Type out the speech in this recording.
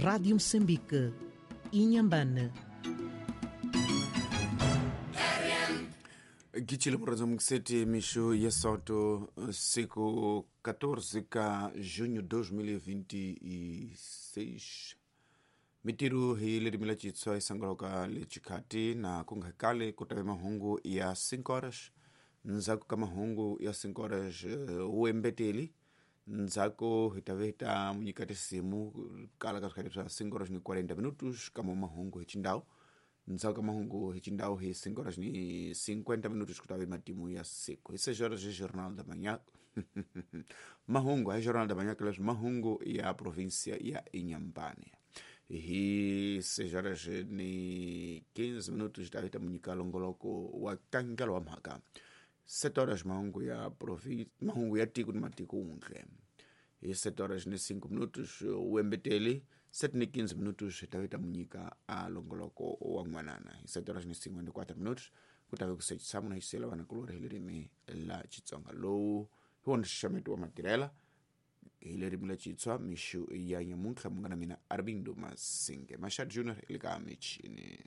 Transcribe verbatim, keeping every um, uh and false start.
Rádio Moçambique, Inhambane. Gichile muradzo mukiseti mixo ya soto siku quatorze ka junho dois mil e vinte e seis. Mitiru hi lerimi la Xitsonga hi sangoloka le xikhati na ku nga kale ku tave mahungu ya cinco horas. Ndzhaku ka mahungu ya cinco horas wu embeteli ndzhaku hi ta ve ta munyika tinsimu kala ka swikhati swa cinco horas ni quarenta minutos kama mahungu hi xindhawu. Ndzhaku ka mahungu hi xindhawu hi cinco horas ni cinquenta minutos ku ta ve matimu ya siku. Hi seis horas hi Jornal da Manhã. Mahungu hi Jornal da Manhã leswi mahungu ya província ya Inhambane. Hi seis horas ni quinze minutos ta ta munyika longoloko wa kangelo wa mhaka. Sete horas mahungu ya província, mahungu ya tiko ni matiko untle. Hi sete horas ni cinco minutos uembeteli, sete ni quinze minutos ta ta munyika a longoloko wa n'wanana. Hi sete horas ni cinquenta e quatro minutos ku ta ve ku sechisa munhu xisela vana kulorhi hi ririmi la Xitsonga lowu hi wona nxaxameto wa matirhela hi ririmi la Xitsonga mixo ya nyamuntlha munghana mina Arvindo Masinge Mashad Junior le ka michini.